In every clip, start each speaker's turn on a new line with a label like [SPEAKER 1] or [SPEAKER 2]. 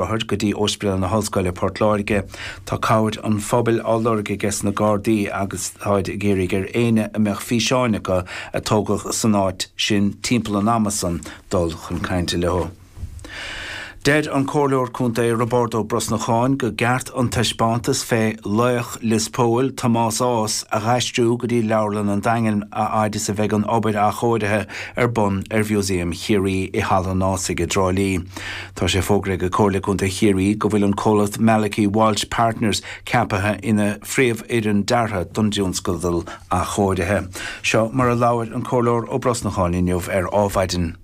[SPEAKER 1] Rothair go dtí Ospidéal na hOllscoile, Port Láirge. Tá cabhair an phobail á lorg aige na Gardaí agus táid ag iarraidh ar éinne a mbeadh físeáin acu a tógadh san áit sin timpeall an ama san dul chun cainte leo. Deir an Comhairleoir Contae Roibeárd Ó Brosnacháin go gceart an taispeántas fé laoch Lios Póil, Tomás Ághas, a dh'aistriú go dtí Leabharlann an Daingin a fhaid is a bheidh an obair athchóirithe ar bun ar Mhúsaem Chiarraí i Halla an Ághasaigh i dTrá Lí. Tá sé fógraithe ag Comhairle Contae Chiarraí go bhfuil an comhlacht Malachy Walsh Partners ceaptha ina phríomhfhoireann deartha don dtionscadal athchóirithe. Seo mar a labhair an Comhairleoir Ó Brosnacháin inniu ar Ádhmhaidin.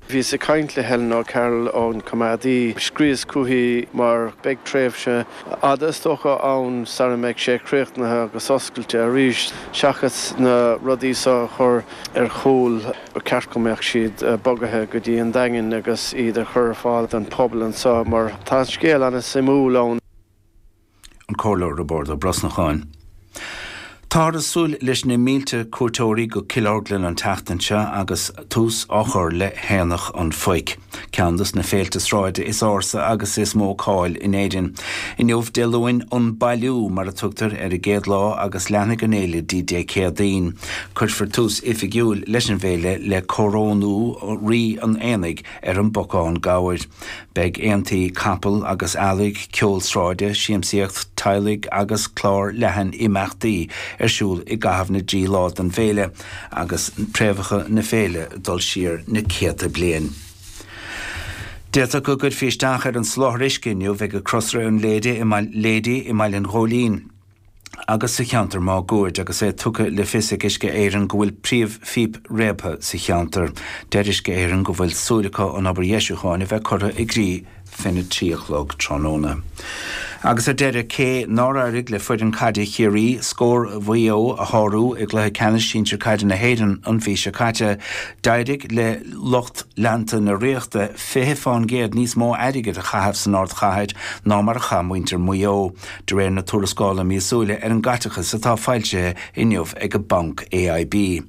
[SPEAKER 2] Bhíos ag caint le Helen O'Carroll ón Coimeádaí. Scríos chuici mar beidh tréimhse fhada is dócha ann sara mbeidh sé críochnaithe agus oscailte arís. Seachas na rudaí seo a chur ar chúl, ba cheart go mbeadh siad bogaithe go dtí an Daingean agus iad a chur ar fáil don phobal anseo mar tá an scéal an-suimiúil ann.
[SPEAKER 1] An Comhairleoir Roibeárd Ó Brosnacháin. Táthar ag súil leis na mílte cuairteoirí go Cill Orglan an tseachtain seo agus tús á chur le hAonach an Phoic, ceann dos na féilte sráide is ársa agus is mó cáil in Éirinn. Inniu, Dé Luain, an Bailiú mar a tugtar ar an gcéad lá agus leanfaidh an fhéile dtí Dé Céadaoin. Cuirfear tús oifigiúil leis an bhféile le corónú Rí an Aonaigh ar an bpocán gabhair. Beidh aontaí capall agus eallaigh, ceol sráide, siamsaíocht teaghlaigh agus clár leathan imeachtaí ar siúl i gcaitheamh na dtrí lá den bhféile agus préamhacha na féile ag dul siar na céadta bliain. D'fhéadfadh go gcuirfí isteach ar an soláthar uisce inniu ag Crosaire an Laoide i mBaile an Ghóilín. agus sa cheantar máguaird agus é tugtha le fios ag Uisce Éireann go bhfuil príomhphíp réabtha sa cheantar. Deir Uisce Éireann go bhfuil súil acu an obair dheisiúcháin a bheith curtha i gcrích fena 3 a chlog tráthnóna. Agus ar deireadh, cé nár éirigh le foireann caide Chiarraí scór Mhaigh Eo a shárú i gcluiche ceannais sinsir caide na hÉireann an mhí seo caite, d'éirigh le lucht leanta na Ríochta 20% níos mó airgid a chaitheamh san ardchathair ná mar a chaith muintir Mhaigh Eo. De réir na tuarascála míosúla ar an gcaiteachas atá foilsithe inniu ag an banc AIB,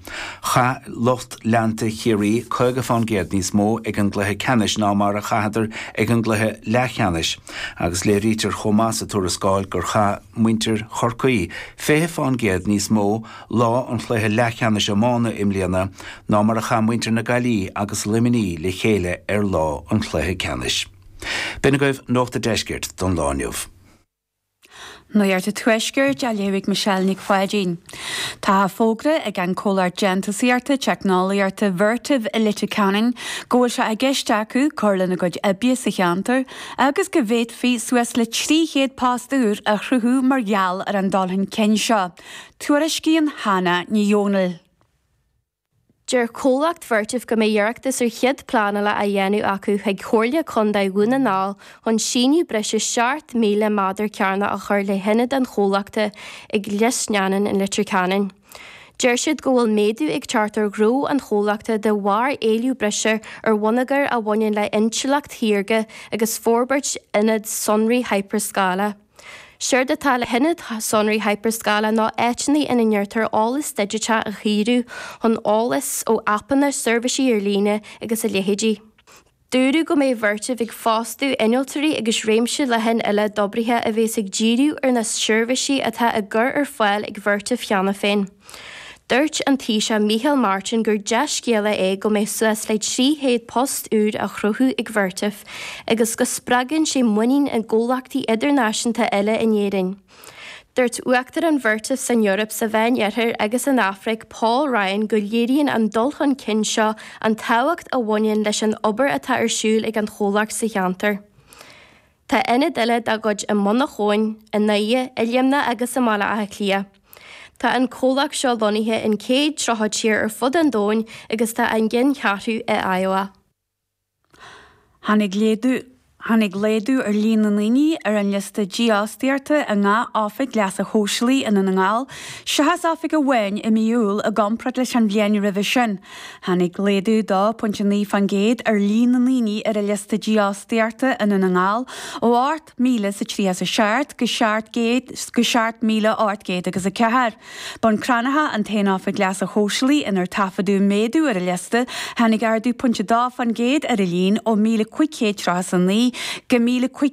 [SPEAKER 1] chaith lucht leanta Chiarraí 50% níos mó ag an gcluiche ceannais ná mar a chaitheadar ag an gcluiche leathcheannais agus léirítear chomh maith sa tuarascáil gur chaith muintir Chorcaí 20% níos mó lá an chluiche leathcheannais iomána i mbliana ná mar a chaith muintir na Gaillimhe agus Luimnigh le chéile ar lá an chluiche ceannais. B'in agaibh Nuacht a' Deiscirt don lá inniu.
[SPEAKER 3] Nuacht a' Tuaiscirt á léamh ag Michelle Nic Pháidín. Tá fógra ag an comhlacht déantúsaíochta teicneolaíochta Vertiv i Leitir Ceanainn go bhfuil sé i gceist acu cur lena gcuid oibre sa cheantar agus go bhféadfaí suas le 300 post úr a chruthú mar gheall ar an dul chun cinn seo. Tuairiscíonn Hannah Ní Dhomhnaill.
[SPEAKER 4] Deir comhlacht Vertiv go mbeidh iarratas ar chead pleanála á dhéanamh acu chuig Comhairle Contae Dhún na nGall chun síneadh breise 7,000 méadar cearnach a chur le hionad an chomhlachta ag Lios Neanáin in Leitir Ceanainn. Deir siad go bhfuil méadú ag teacht ar ghnó an chomhlachta de bharr éileamh breise ar bhonneagar a bhaineann le intleacht shaorga agus forbairt ionad sonraí hyperscála. Séard atá le hionaid sonraí hyperscála ná áiteanna ina ndéantar eolas digiteach a shaothrú chun eolas ó aipeanna, seirbhísí ar líne agus a leithéidí. Dúradh go mbeidh Vertiv ag fostú innealtóirí agus réimse leathan eile d'oibrithe a bheas ag díriú ar na seirbhísí atá á gcur ar fáil ag Vertiv cheana féin. Dúirt an Taoiseach Micheál Martin gur dea-scéala é go mbeidh suas le 300 post úr á chruthú ag Vertiv agus go spreagann sé muinín i gcomhlachtaí idirnáisiúnta eile in Éirinn. Dúirt Uachtarán Vertiv san Eoraip, sa Mheán-Oirthear agus san Afraic, Paul Ryan go léiríonn an dul chun cinn seo an tábhacht a bhaineann leis an obair atá ar siúl ag an chomhlacht sa cheantar. Tá ionaid eile dá gcuid i Muineachán, i nDoire, i Luimneach agus i mBaile Átha Cliath. Tá an comhlacht seo lonnaithe in 130 tír ar fud an domhain agus tá a gceanncheathrú i Iowa.
[SPEAKER 3] Tháinig léadú Tháinig laghdú ar líon na ndaoine ar an liosta dífhostaíochta i ngach oifig leasa shóisialaigh i nDún na nGall, seachas oifig amháin i mí Iúil i gcomparáid leis an bhliain roimhe sin. Tháinig laghdú 2.9% ar líon na ndaoine ar an liosta dífhostaíochta i nDún na nGall ó 8,037 go 7,800 agus 4. Bun Cranncha an t-aon oifig leasa shóisialaigh inar taifeadadh méadú ar an liosta, tháinig ardú 0.2% ar a líon ó 1,539. go 1,500.